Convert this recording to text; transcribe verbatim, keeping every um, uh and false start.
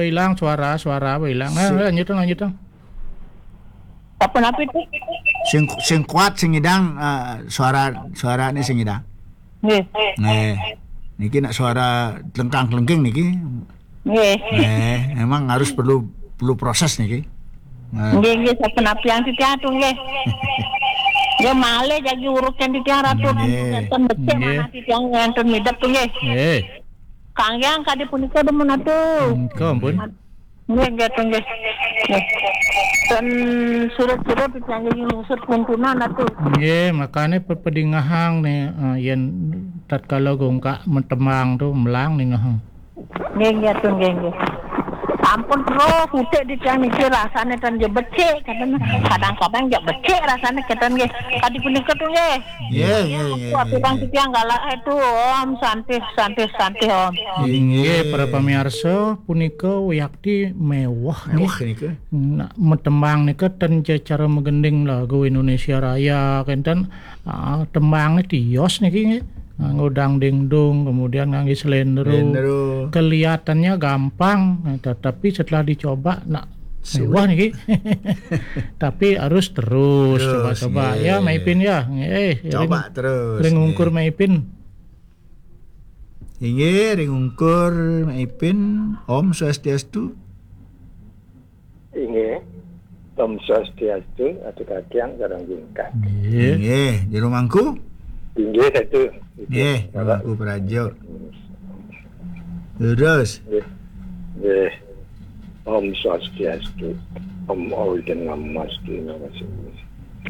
Ilang suara, suara apa ilang? Nah, lanjut, lanjut. Apa napi itu? Sing, sing kuat, sing idang, eh, suara, suaranya sing idang. Nggih. Nggih. Niki nak suara lengkang-lengking niki. Nggih. Nggih, emang harus perlu, perlu proses niki. Nah. Nggih, nggih, sampun apiang titiang tu nggih. Nggih, malih jagi uruk kan titiang ratu. Nggih. Nenten becik. Nggih. Manah titiang nenten midep tu nggih. Nggih. Kangge kadi punika demen atu. Nggih, ampun. Nggih, nggih, tu nggih. Nggih. Dan surut-surut titiang nggih lungsur kuntunan atu. Nggih, makane pepedingahang nih, eh, yen tatkala gongkak metembang tu melang nih ngahang. Nggih, nggih, tu nggih, nggih. Sampun terus utik di tiang niki rasane ten je becik, kadang, kadang-kadang je becik rasane keten nggih. Kadi punika tu nggih. Nggih, nggih, nggih, nggih, nggih. Tiang galak itu Om, santih, santih, santih Om. Inggih, para pamirsa, punika wiakti mewah nggih. Mewah nika. Nak metembang nika ten je cara megending lagu Indonesia Raya kenten. Ah, tembang niki tios niki nggih. Nganggo dangdingdung, kemudian ngangge selendro. Selendro. Kelihatannya gampang, nah, tetapi setelah dicoba, nak sulit. Mewah niki. Tapi harus terus. Terus, coba-coba. Nggih. Ya, Mak Ipin ya. Nggih, coba ring, terus, ring ungkur nggih. Mak Ipin. Inggih, ring ungkur Mak Ipin. Om Swastiastu. Inggih. Om Swastiastu, atu katiang sareng jingkat. Nggih. Nggih, jero mangku? Inggih, satu. Nggih, jero mangku praja. Terus. Nggih. Nggih. Om Swastiastu. Om Awighnamastu. Namo Siddham.